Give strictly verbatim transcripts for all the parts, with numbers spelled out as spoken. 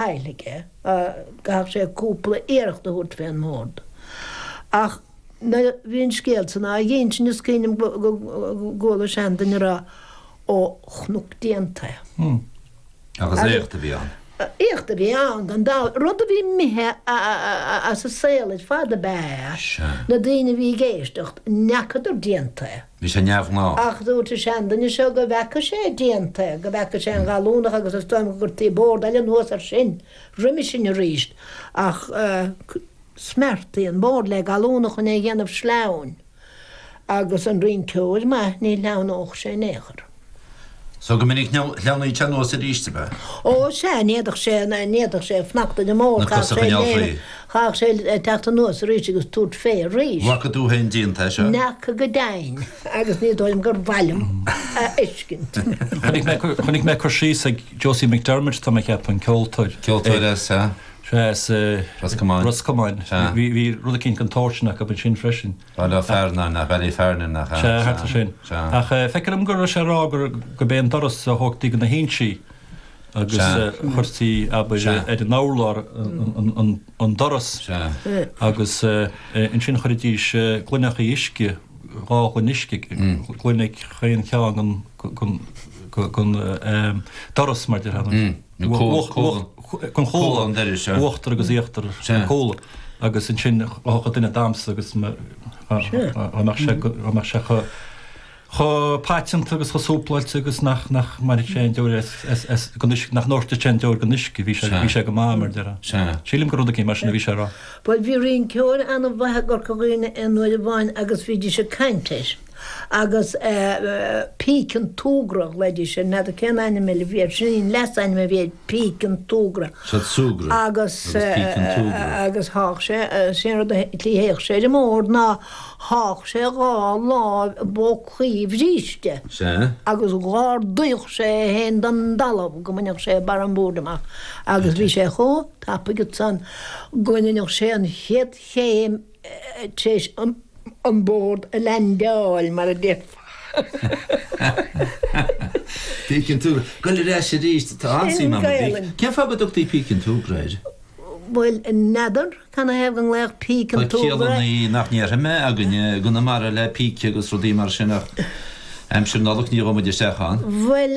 Faill aige, gcaithfeadh sé cúpla iarracht a thabhairt fén mbord. Ach nuair a bhí an scéal san á dh'innsint is cuimhin liom go gcuala seanduine a rá, Ó, chonac déanta é. Agus éacht a bhí ann. Éacht a bhí ann, gan dabht. Rud a bhí imithe as an saol ar fad ab ea é. Na daoine a bhí ag éisteacht, n'fheacadar déanta é. Bhí sé neamhghnách. Ach dúirt an seanduine seo go bhfeaca sé déanta é, go bhfeaca sé an gallúnach agus is dóigh liom go gcuirtí bord eile anuas air sin roimhe sin arís ach smeartaí an bord le gallúnach chun é a dhéanamh sleamhain agus an rinceoir maith ní shleamhnódh sé in aon chor. So go minic shleamhnaíodh sé anuas arís, ab ea? Ó sea, ní fhéadfadh sé, ní fhéadfadh sé fanacht ar an mbord, Na cosa a choinneáil faoi. chaithfeadh sé teacht anuas arís agus tabhairt fé arís. Bhfaca tú féin déanta é seo? N'fheaca go deimhin, agus ní dóigh liom gur mhaith liom a fheiscint. Chonaic mé, chonaic mé cur síos ag Josie McDermott, tá mé ag ceapadh, an ceoltóir. Ceoltóir as, sea. Sea, as Ros Comáin. Ros Comáin. Sea. Bhí, bhí rud eicínt den tsórt sin acu ansin freisin. Baile Ó Fearnáin, nach Ballyfernan, nach ea? Sea, thart ar sin. Sea. Ach feictear dom go raibh sé ag rá gur, gurb é an doras a thógtaí de na hinsí agus Sea. chuirtí, abair, Sea. ar an urlár an, an, an doras. Sea. Agus ansin chuiridís gloineachaí uisce, dhá ghloine uisce, gloine ag chaon cheann den, den, den doras, mar déarfá. Nó comhla, comhla, den chomhla, comhla an dorais, sea. Uachtar agus íochtar Sea. an chomhla. Agus ansin thiocfadh duine ag damhsa agus dá mbeadh sé dá mbeadh sé chomh chomh paiteanta agus chomh súpláilte agus nach nach mbainfeadh sé aon deoir as as as den uisce nach ndoirtfeadh sé aon deoir den uisce bhí sé bhí sé go maith mar déarfá. Sea. Sílim gur rud eicínt mar sin a bhí sé a rá. Bhuel bhí rinceoir ana-mhaith i gCorca Dhuibhne aon uair amháin agus bhídís ag caint air. Agus Píce an tSúgradh a ghlaoidís air, n'fheadar cén ainm eile a bhí air, sin an leasainm a bhí air, Píce an tSúgradh. Siad súgradh Agus agus Píce an tSúgradh. agus thádh sé, sé an rud a tslí a théadh sé ar an mbord ná thádh sé a dhá láimh i bpócaí a bhríste Sea. agus dh'ardaíodh sé é féin den dtalamh go mbainfeadh sé barr an bhoird amach agus bhí sé chomh tapaidh ansan go ndeineadh sé an chéad chéim tar éis an an bord a leaindeáil, mar a déarfá. Píce an tSúgradh. Goil ar ais arís, tá an-suim Sin agam i bpíce. Gaelainn. Cén fáth go dtugtaí Píce an tSúgradh air? Bhuel, n'fheadar canathaobh go nglaodh Píce Tá an tSúgradh. ciallannaí nach ndéarfaidh mé againne i gConamara le píce agus rudaí mar sin ach Aimsir Nollag ní ghabhfaidh muid isteach ann. Bhuel,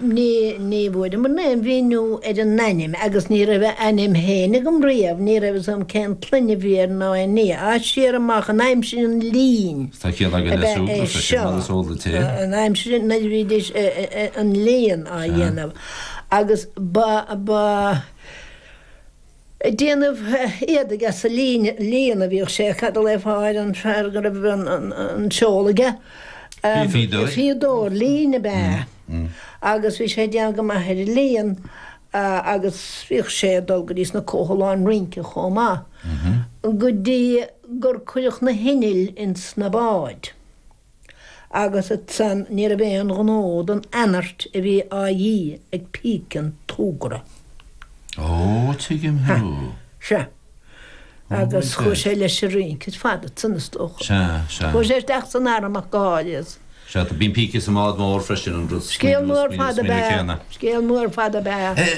ní, ní bhfuaireamar aon mhíniú ar an ainm agus ní raibh a ainm féin agam riamh, ní raibh fhios agam cén tsloinne a bhí air ná aon ní. Á, siar amach in aimsir an lín Tá ciall againn ab le ea é súgradh freisin, seo, mar is eol duit é. in aimsir nuair a bhídís an líon á dhéanamh agus ba, ba, Ag déanamh éadaigh as an líon a bhíodh sé, cad a ghlaofá ar an fear go raibh an seol aige? Fíodóir. Fíodóir lín ab ea. Agus bhí sé ag déanamh go maith ar an líon agus bhíodh sé ag dul go dtí sna comhthalláin rince chomh maith, go dtí gur cuireadh na hinnill ins na báid. Agus ansan ní raibh aon ghnó don anairt a bhí á dhíth ag Píce an tSúgradh. Ó, tuigim thú. Sea. Agus chuaigh sé leis an rince ar fad ansan, is dócha. Sea, sea. Chuaigh sé isteach san arm ach go háirithe. Sea, bíonn píce sa mbád mór freisin, an rud Scéal mór fada ab ea. Scéal mór fada ab ea.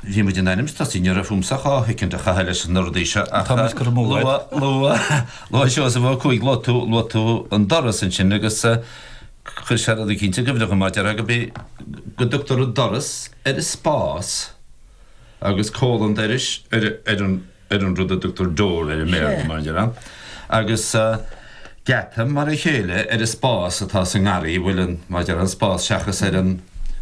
Bhí muid in ainm is tosaí, ní raibh fúmsa ach dhá shoicind a chaitheamh leis na rudaí seo ach Tá muid curtha amú agat. luaigh, luaigh, luaigh Seosamh Ó Cuaig, luaigh tú, luaigh tú an doras ansin agus chuir sé rud eicínt i gcuimhne dhom, mar déarfá go bí, go dtugtar an doras ar an spás agus comhla an dorais ar, ar an, ar an rud a dtugtar door air i mBéarla, mar a déarfá. Agus geata mar a chéile ar an spás atá sa ngarraí, bhfuil an, mar a déarfá, an spás seachas ar an,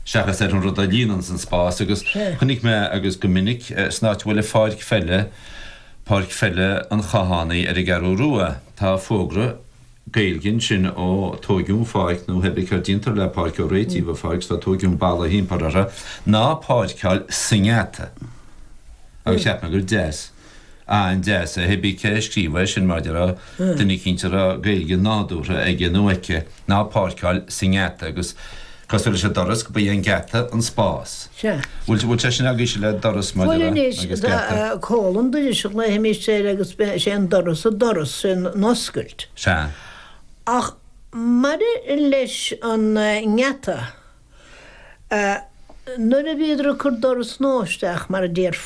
seachas ar an rud a líonanns an spás. Agus chonaic mé, agus go minic, san áit a bhfuil an pháirc pheile, páirc pheile an Chathánaigh ar an gCeathrú Rua, tá fógra Gaeilge ansin ó tóigeadh an pháirc nó pé bith céard déantar le páirc ó réitíodh an pháirc 's tá tóigeadh an balla thimpeall uirthi, ná páirceáil sa ngeata. Agus cheap mé gur deas, an-deas é, pé bith cé a scríobh é sin mar a déarfá, duine eicínt a raibh Gaeilge nádúrtha aige nó aici, ná páirceáil sa ngeata agus cosúil leis an doras go ba é an geata an spás. Sea. Bhfuil, bhfuil sé sin agaibhse le doras mar Bhuel a déarfá anois, agus geata? comhla an dorais a ghlaoimis air agus sé an doras an doras, sin an oscailt. Sea. Ach maidir leis an ngeata, Nuair a bhíodar ag cur doras nua isteach mar a déarfá.